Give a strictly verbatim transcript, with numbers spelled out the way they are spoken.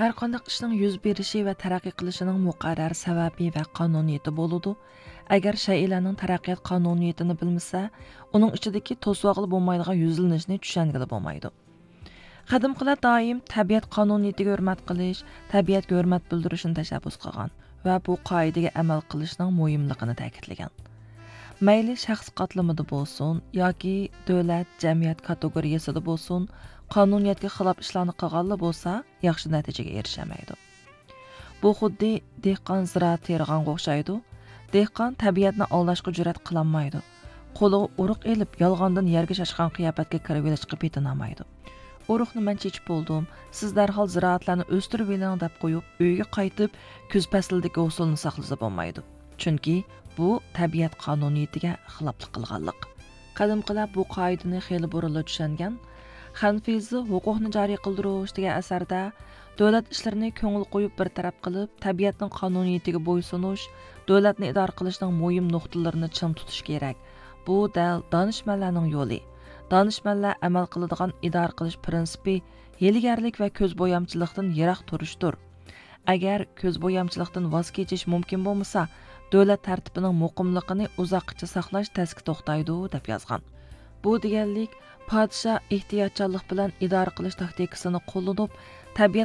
ھەرقانداق ئىشنىڭ يۈز بېرىشى ۋە تەرەققىي قىلىشىنىڭ مۇقەررەر سەۋەبى ۋە قانۇنىيىتى بولىدۇ. ئەگەر شەيئىلەرنىڭ تەرەققىيات قانۇنىيىتىنى بىلمىسە، ئۇنىڭ ئىچىدىكى توسۇۋالغىلى بولمايدىغان يۈزلىنىشنى چۈشەنگىلى بولمايدۇ. قەدىمكىلەر دائىم تەبىئەت قانۇنىيىتىگە ھۆرمەت قىلىش، تەبىئەتكە ھۆرمەت بىلدۈرۈشنى تەشەببۇس قىلغان ۋە بۇ قائىدىگە ئەمەل قىلىشنىڭ مۇھىملىقىنى تەكىتلىگەن. مەيلى شەخس قاتلىمىدا بولسۇن ياكى دۆلەت، جەمئىيەت كاتېگورىيەسىدە بولسۇن، قانۇنىيەتكە خىلاپ ئىشلارنى قىلغانلا بولسا، ياخشى نەتىجىگە ئېرىشەلمەيدۇ. بۇ خۇددى دېھقان زىرائەت تېرىغانغا ئوخشايدۇ. دېھقان تەبىئەتنى ئالداشقا جۈرئەت قىلالمايدۇ. قولىغا ئۇرۇق ئېلىپ، يالغاندىن يەرگە چاچقان قىياپەتكە كىرىۋېلىشقا پېتىنالمايدۇ. ئۇرۇقنى مەن چېچىپ بولدۇم، سىز دەرھال زىرائەتلەرنى ئۆستۈرۈۋېلىڭ دەپ قويۇپ، ئۆيىگە قايتىپ، كۈز پەسلىدىكى ھوسۇلنى ساقلىسا بولمايدۇ. چۈنكى بۇ تەبىئەت قانۇنىيىتىگە خىلاپلىق قىلغانلىق. قەدىمكىلەر بۇ قائىدىنى خېلى بۇرۇنلا چۈشەنگەن. خەنفىزى ھوقۇقنى جارى قىلدۇرۇش دېگەن ئەسەردە، دۆلەت ئىشلىرىنى كۆڭۈل قويۇپ بىر تەرەپ قىلىپ، تەبىئەتنىڭ قانۇنىيىتىگە بويسۇنۇش، دۆلەتنى ئىدارە قىلىشنىڭ مۇھىم نۇقتىلىرىنى چىڭ تۇتۇش كېرەك. بۇ دەل دانىشمەنلەرنىڭ يولى. دانىشمەنلەر ئەمەل قىلىدىغان ئىدارە قىلىش پىرىنسىپى ھىيلىگەرلىك ۋە كۆز بويامچىلىقتىن يىراق تۇرۇشتۇر. ئەگەر كۆز بويامچىلىقتىن ۋاز كېچىش مۇمكىن بولمىسا، دۆلەت تەرتىپىنىڭ مۇقىملىقىنى ئۇزاققىچە ساقلاش تەسكە توختايدۇ، دەپ يازغان. بۇ دېگەنلىك، پادىشاھ ئېھتىياتچانلىق بىلەن ئىدارە قىلىش تاكتىكىسىنى قوللىنىپ، تەبىئەت